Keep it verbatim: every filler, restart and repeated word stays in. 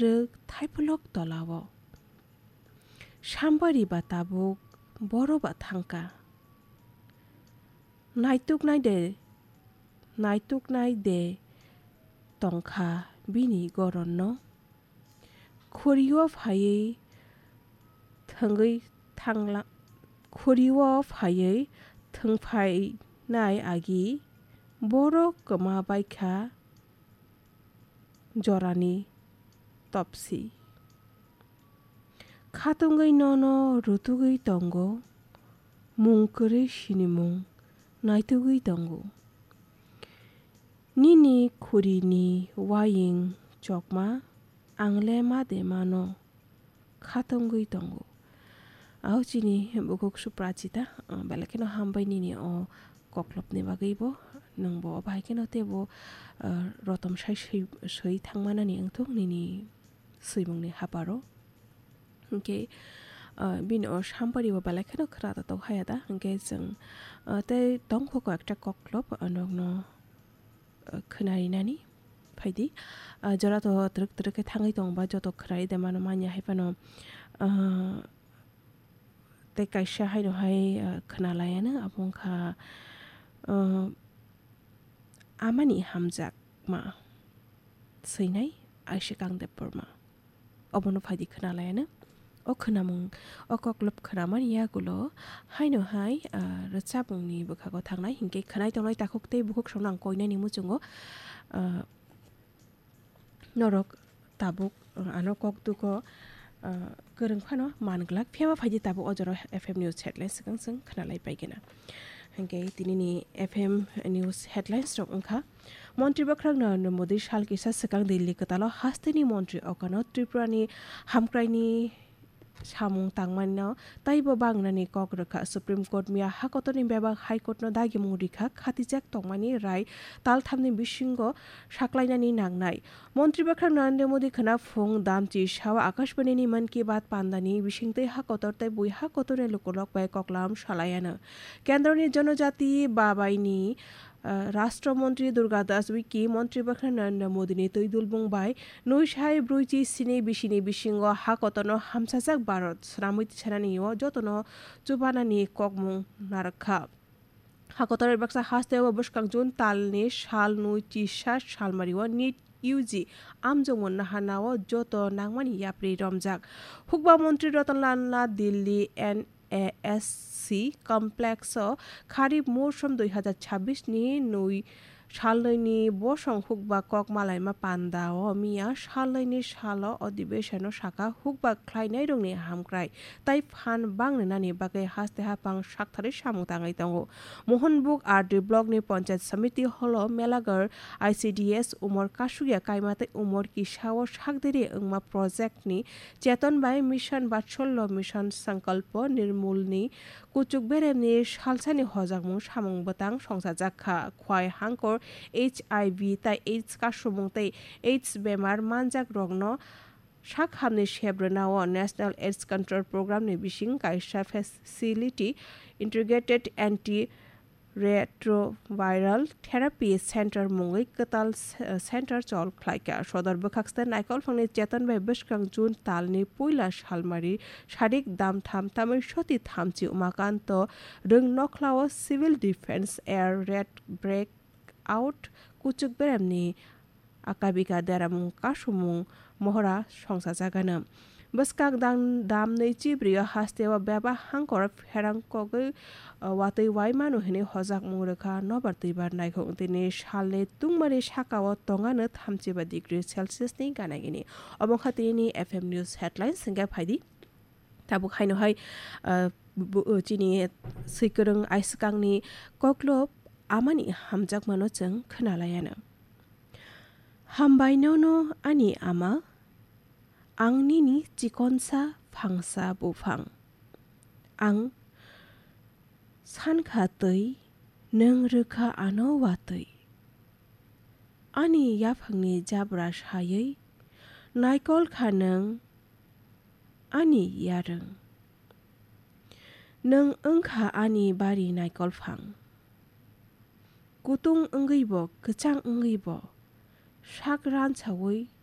rwk thaipulok tolao. Sambari ba tabuk boro ba thangka. Naituknai de, naituknai de tongkha bini goronno. Khuriyo phaiwi thwngwi thangla-, khuriyo phaiwi thwngphainai agi borok kwma baikha jorani topsi. Khatungwi nono rutugwi tongo, mung kwrwi sinimung naitugwi tongo. Nini khurini waying chokma, ang le ma de mano khatungwi tongo. Aw chini bukhuk Suprachita, ah, belai kheno hambai nini o koklopni bagwi bo, nwng bo bahai kheno teibo, ah, rotom sai swi, swi thangmanani wngthok nini swimungni haparo. Hinkhe, ah, bini o sambari bo belai kheno khwna totok haya da, hinkhe chwng, ah, tei tongkho kok ekta koklop, ah, nokno, ah, khwnarinani phaidi. Ah, jora to twrwk twrwk khe thangwi tongba joto khwnai de mano manya hai phano, ah, tei kaisa haino hai, ah, khwna laiano abo wngkha, ah, amani hamjakma swinai Aishikang Debbarma. Obono phaidi khwna laiano. O khwnamung, o koklop khwnamani yagulo haino hai, ah, rwchapmungni bwkhago thangnai hinkhe khwnai tongnai takhuk tei bukhuk songno ang koinani muchungo, ah, norok tabuk, ah, ano kok dugo, ah, kwrwng phano man glak. Phiyaba phaidi tabuk o jora F M News headlines swkang swng khwnalai paigena. Hinkhe tinini F M News headlines rok wngkha, Montri Bwkhwrang Narendra Modi sal kisa swkang Delhi kwtalo hasteni montri okano Tripurani hamkraini samung tangmano taibo bangnani kok rwkha. Supreme Court miya hakotorni bebak High Courtno dagimung rikha, khatijak tongmani rai talthamni bisingo saklainani nangnai. Montri Bwkhwrang Narendra Modi khwna phung damchi sao Akashbanini Mann Ki Baat pandani bisingtwi hakotor tei bui hakotorni lukurok bai koklam salaiano. Kendroni Jonojati babaini, ah, Rashtra Montri Durga Das Uikey Montri Bwkhwrang Narendra Modini twi dulbung bai nui sai brwichi sini bisini bisingo hakotorno hamsajak Bharat swnamwi tisanani o jotono chubanani kokmung narwkha. Hakotor baksa hasteo bwskang June talni sal nui chisa salmario NEET U G amjokmung naharnao joto nangmani yapri romjak. Hukba Montri Ratan Lal Nath Delhi N A S C complex o Kharif Mousom dui hazar chabbish ni nui salnwini bosong hukba kok malaima panda o miya salnwini salo adhibeshon o saka hukba khlainairokni hamkrai tai phan bangrinani bagwi haste haphang saktharwi samung tangwi tongo. Mohanbug R D block ni Panchayat Samiti holo Melagar I C D S umor kasugya kaima tei umor kisa o sakdiri wngma project ni Cheton bai Mission Vatsalya, Mission Sankalpo Nirmul ni kuchuk beremni salsani hojakmung samung bwtang songchajak kha. Khwai hangkor, H I V tai AIDS kasumung tei AIDS bemar manjak rokno sak hamni sep rwnao National AIDS Control Program ni bising kaisa facility, Integrated Anti Retroviral Therapy Center mungwi kwtal se-, center chol khlaikha. Sodor bwkhakste naikolphangni Cheton bai bwskang June talni puila salmari sarik dam tham tamwi soti thamchi Umakanto Rwng nokhlao Civil Defence Air Raid Breakout kuchuk beremni akabika deramung kasumung mohora songchajagano. Bwskang dang dam nui chibrio hasteo bebak hangkor pherang kogwi, uh, watwi waimano hinwi hojakmung rwkha nobar twibar naikhung. Tini salni tungmani sakao tongano thamchiba degree Celsius ni gana gini. Omo wngkha tinini F M News headlines, hwnkhe phaidi. Tabuk haino hai, uh, bu-, uh, chini swikwrwng aiskangni koklop amani hamjakmano chwng khwnalaiano. Hambai nono ani ama, ang nini chikonsa phangsa buphang. Ang sankha twi, nwng rwkha ano watwi. Ani yaphangni jabra saywi, naikol kha nwng ani yarwng. Nwng wngkha ani bari naikol phang. Kutung wngwi bo, kwchang wngwi bo, sak ransaui